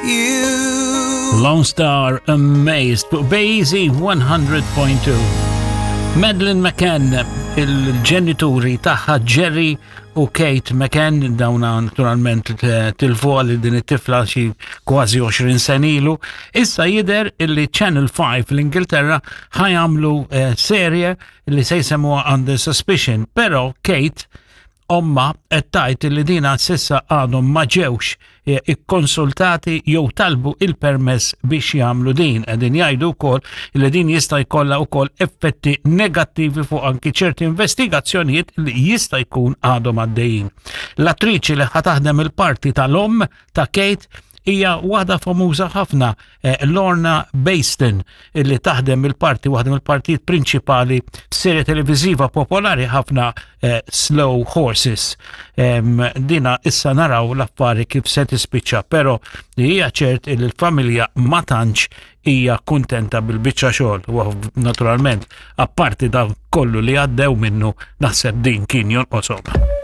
You. Lone Star Amazed fuq Bazy 100.2. Madeleine McCann, il-ġenituri tagħha Jerry u Kate McCann, dawna naturalment tilfu għal din it-tifla xi kważi 20 sen ilu. Issa jidher illi Channel 5 l-Ingilterra ħajamlu eh, serje li se jsemmuha Under Suspicion, però Kate Ommha qed tgħid li dina s'issa għadhom ma ġewx eh, ikkonsultati jew talbu il-permess biex jagħmlu din. Qegħdin jgħidu wkoll li din jista' jkollha wkoll effetti negattivi fuq anki ċerti investigazzjonijiet li jista' jkun għadhom għaddejjin. L-attriċi li ħa taħdem il-parti tal-omm ta' Kate hija waħda famuża ħafna eh, Lorna Baston illi taħdem il-parti waħda mill-partijiet prinċipali f'serje televiżiva popolari ħafna eh, Slow Horses. Dina issa naraw l-affari kif se tispiċċa, però li hija ċert li l-familja ma tantx hija kuntenta bil-biċċa xogħol u naturalment apparti dan kollu li għaddew minnu naħseb din kien jonqoshom.